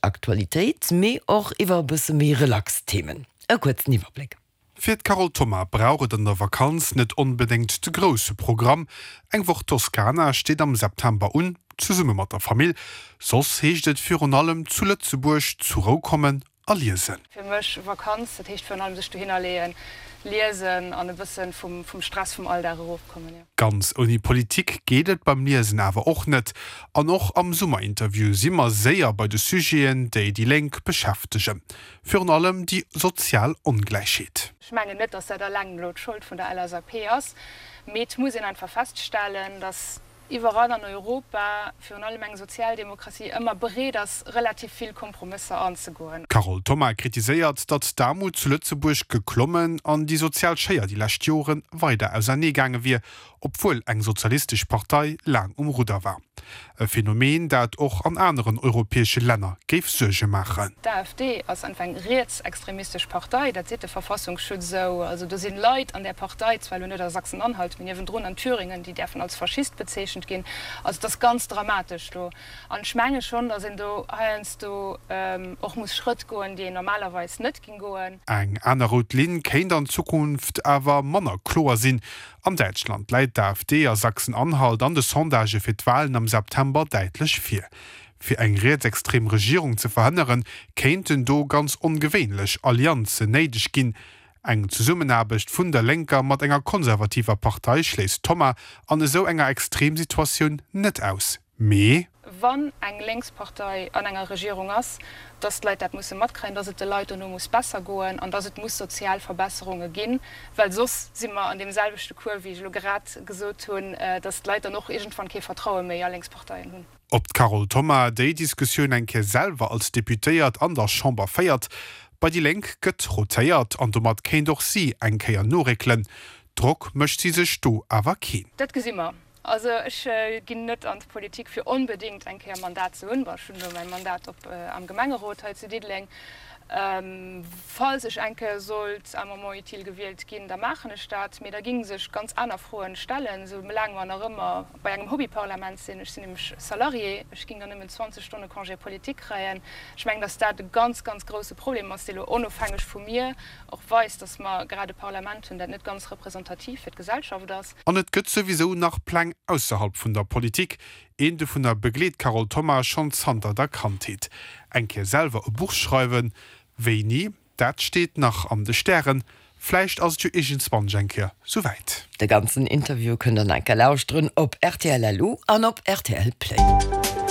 Aktualitéit, mee och iwwer e bësse méi relax Themen. E kuerzen Iwwerbléck. Fir d'Carole Thoma brauch et an der Vakanz net onbedéngt de grousse Programm. Eng Woch Toskana steet am September un, zesumme mat der Famill. Soss heescht et virun allem zu Lëtzebuerg zu Rou kommen a liesen. Fir mech Vakanz, dat heescht virun allem sech dohinner leeën, liesen an e bëssen vum Stress vum Alldag erofkommen, jo. Ganz ouni Politik geet et beim Liesen awer och net. An och am Summerinterview si mer séier bei de Sujeten, déi déi Lénk beschäftegen. Virun allem déi sozial Ongläichheet. Ech mengen net, datt dat alleng elo d'Schold vun der LSAP ass, mee et muss een einfach feststellen, datt iwwerall an Europa, virun allem eng Sozialdemokratie, ëmmer bereet ass, relativ vill Kompromësser anzegoen. D'Carole Thoma kritiséiert, datt d'Aarmut zu Lëtzebuerg geklommen an déi sozial Schéier déi lescht Jore weider ausernee gaange wier, obwuel eng sozialistesch Partei laang um Rudder war. E Phänomen, dat och an aneren europäesche Länner géif Suerge maachen. D'AfD ass einfach eng rietsextremistesch Partei, dat seet de Verfassungsschutz esou. Also do sinn Leit an där Partei, zwar elo net a Sachsen-Anhalt, mee niewendrun an Thüringen, déi däerfen als Faschist bezeechent ginn. Also et ass ganz dramatesch do. An ech menge schonn, datt een do heiansdo och muss Schrëtt goen, déi een normalerweis net ging goen. Eng aner rout Linn kéint an Zukunft awer manner kloer sinn. An Däitschland läit d'AfD a Sachsen-Anhalt an de Sondagë fir d'Walen am September däitlech vir. Fir eng rietsextrem Regierung ze verhënneren, kéinten do ganz ongewéinlech Allianzen néideg ginn. Eng Zesummenaarbecht vun der Lénker mat enger konservativer Partei schléisst d'Thoma an esou enger Extremsituatioun net aus. Mee. Wann eng lénks Partei an enger Regierung ass, dass d'Leit dat musse matkréien, dass et de Leit dono muss besser goen an dass et muss sozial Verbesserunge ginn, well soss si mer an deem selwechte Cours, wéi ech elo grad gesot hunn, dass d'Leit dann och iergendwann kee Vertraue méi a lénks Parteien hunn. Ob d'Carole Thoma déi Diskussioun eng Kéier selwer als Deputéiert an der Chamber féiert? Bei déi Lénk gëtt rotéiert an domat kéint och si eng Kéier noréckelen. Drock mécht si sech do awer keen. Dat gesi mer. Also ech ginn net an d'Politik fir onbedéngt eng Kéier Mandat ze hunn. Bon, ech hunn elo mäi Mandat op am Gemengerot hei zu Diddeleng. Falls ech eng Kéier sollt à un moment utile gewielt ginn, da maachen ech dat. Mee da géing sech ganz aner Froen stellen, esou laang mer nach ëmmer bei engem Hobbyparlament sinn. Ech sinn nämlech Salarié, ech géing dann nëmmen 20 Stonne Congé politique kréien. Ech mengen, datt dat e ganz, ganz grouse Problem ass, dee lo onofhängeg vu mir och weist, datt mer grad e Parlament hunn, dat net ganz representativ fir d'Gesellschaft ass. An et gëtt souwisou nach Pläng ausserhalb vun der Politik. Een dovunner begleet d'Carole Thoma schonn zanter der Kandheet. Eng Kéier selwer e Buch schreiwen, wéini, dat steet nach an de Stären. Vläicht ass et jo iergendswann eng Kéier souwäit. De ganzen Interview kënnt der nach eng Kéier lauschteren op rtl.lu an op rtl Play.